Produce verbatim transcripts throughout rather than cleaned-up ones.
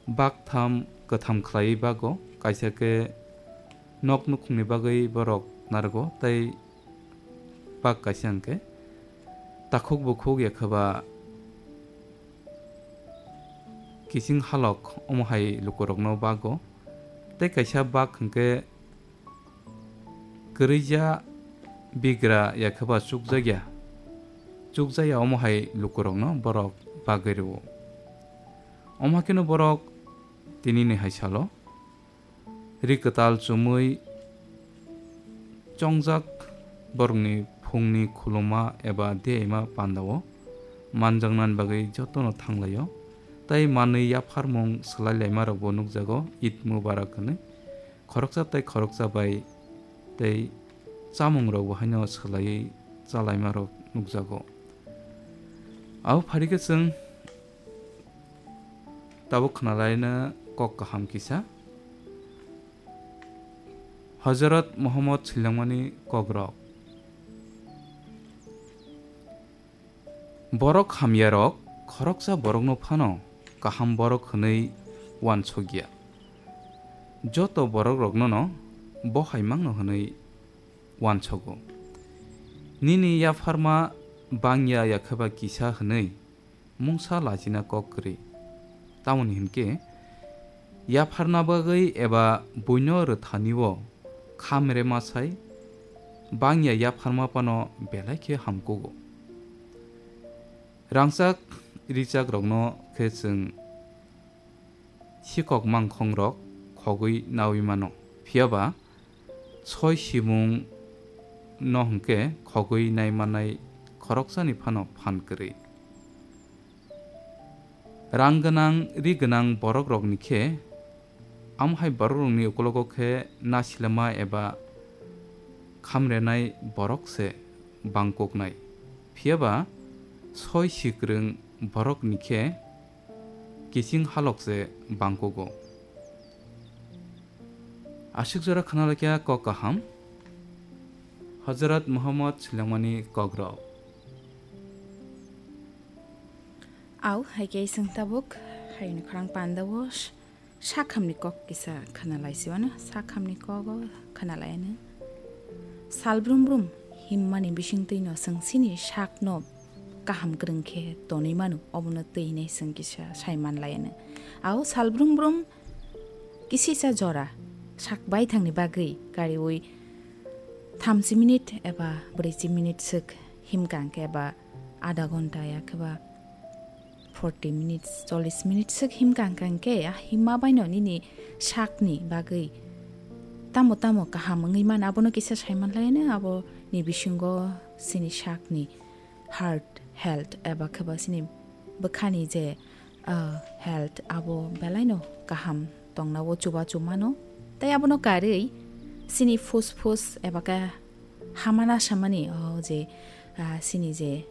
Bak tham kwtham khlaiwi bago, kaisa khe nok nukhungni bagwi borok narwgo, tei bak kaisa hwnkhe takhuk bukhuk ya khe ba kiching halok omo hai lukurokno bago, tei kaisa bak hwnkhe kwrwija bigra ya khe ba chukjakya, chukjakya omo hai lukurokno borok bagwi rwo. Omo hakheno borok tinini hai salo ri kwtal chumui chongjak borokni phungni khuluma eba diyaima pandao manjaknani bagwi jotono thanglaio, tei manwi yapharmung swlai laimarokbo nukjago, Eid Mubarak hwnwi. Khoroksa tei khoroksa bai tei chamungrokbo haino swlaiwi chalaimarok nukjago. Abo pharikhe chwng tabuk khwnalaina kok kaham kisa. Hozrot Muhammad swilangmani kokrok. Borok hamyarok khoroksa borokno phano kaham borok hwnwi uansukya. Joto borokroknono bo hai mangno hwnwi uansugo. Nini yapharma bangya ya khe ba kisa hwnwi mungsa lachina kok kwrwi. Tamoni hinkhe, yapharna bagwi eba buino rwthani-o khamre masai bangya yapharma phano belai khe hamkugo. Rangchak richakrokno khe chwng sikok mangkhongrok khogwi naui mano. Phiya ba soi simung no hwnkhe khogwi nai manai khoroksani phano phan kwrwi. Rang gwnang, ri gwnang borokrokni khe, amo hai borokrokni ukologo khe nasilema eba khamrenai borok se bangkuknai. Phiya ba soi sikrwng borokni khe kiching halok se bangkugo. Aswk jora khna laikha kok kaham. Hazrat Muhammad swilangmani kokrok. Au, hai khe chwng tabuk hayungni khorang pandao s-, sakhamni kok kisa khna lai si uano, sakhamni kogo khna lai ano. Sal brum brum himmani bisingtwi no chwng chini sakno kaham kwrwng khe tonwi mano, obono twi hinwi chwng kisa sai man lai ano. Au, sal brum brum kisisa jora sak baithangni bagwi kariui thamchi minute eba brwichi minute swk himkha hwnkhe eba adha ghonta ya khe ba forty minutes, chollish minutes swk himkha hwnkha hwnkhe, a himma baino nini sakni bagwi tamo tamo kaham wngwi mano, abono kisa sai man lai ano, aboni bisingo chini sakni heart health eba khe ba chini bwkhani je, ah, health abo belaino kaham tongna o chubachu mano. Tei abono karwi chini phus phus eba khe hamana samani o je, ah, chini je,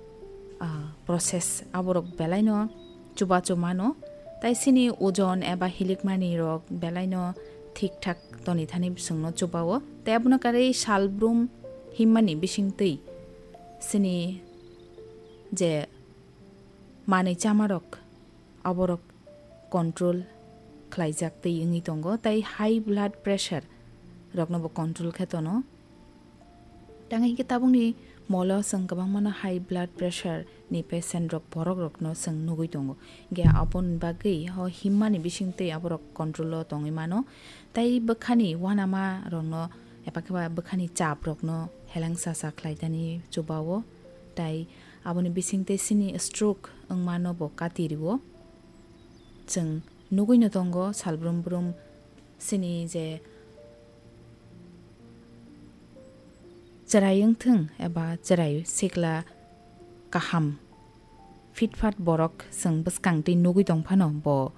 ah, process aborok belaino chubachu mano. Tei chini ojon eba hilikmani rok belaino thik thak toni thani bisingno chubao. Tei abono karwi salbrum himmani bisingtwi chini je manwi chamarok, aborok control khlaijak twi wngwi tongo, tei high blood pressure roknobo control khe tono. Tang hinkhe tabukni molo chwng kwbangmano high blood pressure ni patient rok, borok rokno chwng nugwi tongo. Hinkhe aboni bagwi o himmani bisingtwi aborok control o tongwi mano, tei bwkhani uanama rokno eba khe ba bwkhani chap rokno helengsa sa khlaitani chubao, tei aboni bisingtwi chini stroke wngmano bo kati rwo. Chwng nugwino tongo salbrum brum chini je chwrai wngthwng eba chwrai sikla kaham fitfat borok chwng bwskang twi nugwi tong phano bo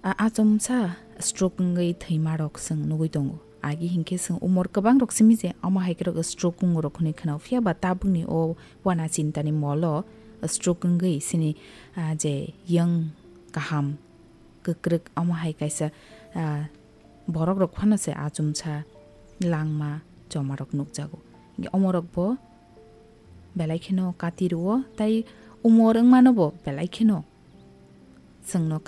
a-, achomsa stroke wngwi thwima rok chwng nugwi tongo. Agi hinkhe chwng umor kwbang rok simi je omo hai khe rok stroke wngo rok hwnwi khwnao, phiya ba tabukni o uana chintani molo stroke wngwi chini, ah, je yang kaham kwkrwk omo hai kaisa, ah, borok rok phano se achomsa langma choma rok nukjago. Hinkhe omo rok bo belai kheno kati rwo, tei umor wngmano bo belai kheno chwngno